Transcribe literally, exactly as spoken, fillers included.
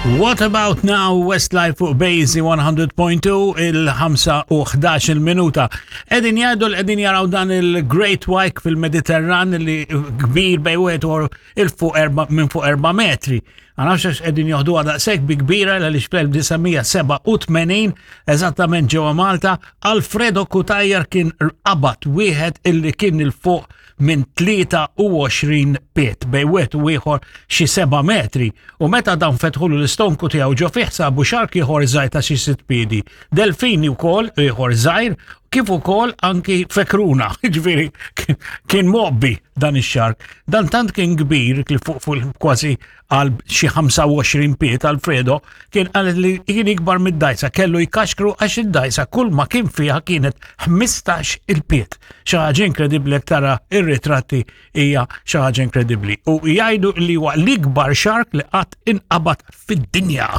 What About Now, Westlife fuq Basie one hundred point two, il-ħamsa u ħdax il-minuta. Qegħdin jgħidu li qegħdin jaraw dan il-Great White fil-Mediterran li kbir bejn wieħed u il fuq erba, minn fuq erba' metri. Ma nafx għax qegħdin joħdu daqshekk bi kbira, għaliex fl-elf disa' mija sebgħa u tmenin, eżattament ġewwa Malta, Alfredo Cutajar kien qabad wieħed illi kien il fuq minn tlieta u għoxrin pied, bejn wieħed u ieħor xi seba' metri. U meta dan fetħulu l-istonku tiegħu, ġo fih sabu shark ieħor żgħir ta' xi sitt piedi. Delfini wkoll ieħor żgħir, kif ukoll anki fekruna, ġifieri kien mgħobbi dan ix-shark. Dan tant kien kbir li fuq fuq kważi għal xi ħamsa u għoxrin pied, Alfredo kien qal li kien ikbar mid-dajsa, kellu jkaxkru għax id-dajsa kull ma kien fiha kienet ħmistax il-pied. Xi ħaġa inkredibbli, jekk tara ir-ritratti hija xi ħaġa inkredibbli. U jgħidu li huwa l-ikbar shark li qatt inqabad fid-dinja.